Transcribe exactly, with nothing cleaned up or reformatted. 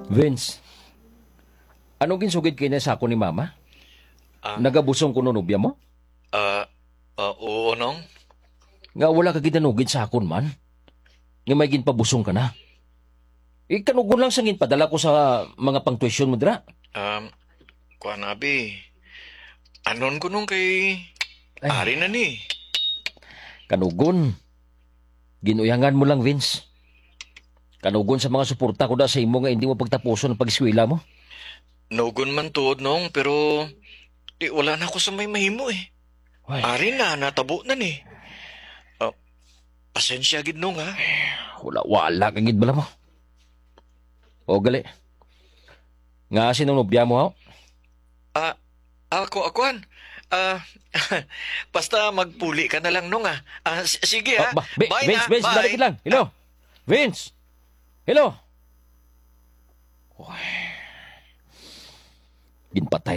Vince, ano ginsugid kay na sa akon ni Mama? Ah. Nagabusong kuno nobya mo? Ah, ah, oo, Nong. Nga wala ka gidanugid sa akon man? Nga may ginpabusong ka na? Ikanugon lang sa ginpadala ko sa mga pangtuition mo dira. Um, kuan, abi. Anon ko, Nong, kay Ay. Ari na ni. Kanugon. Ginuyangan mo lang, Vince. Kanugon sa mga suporta ko da sa imo nga hindi mo pagtapuson ang pag-eskwela mo. Nugon man tuod, Nong, pero di, wala na ako sa may mahimo, eh. Ay. Ari na, natabo na ni. Ah, pasensya gid, Nong, ha? Wala, wala ka gid bala mo. O, gali. Nga, sinong nobya mo, ha? Ah, ako, akuan. Ah, basta magpuli ka na lang, Nong, ah. Ah, s-, sige, ah. Ba, ba, Bi-, Bye Vince, na, Vince, bye. Dali lang. Hello? Vince? Hello? Uy. Ginpatay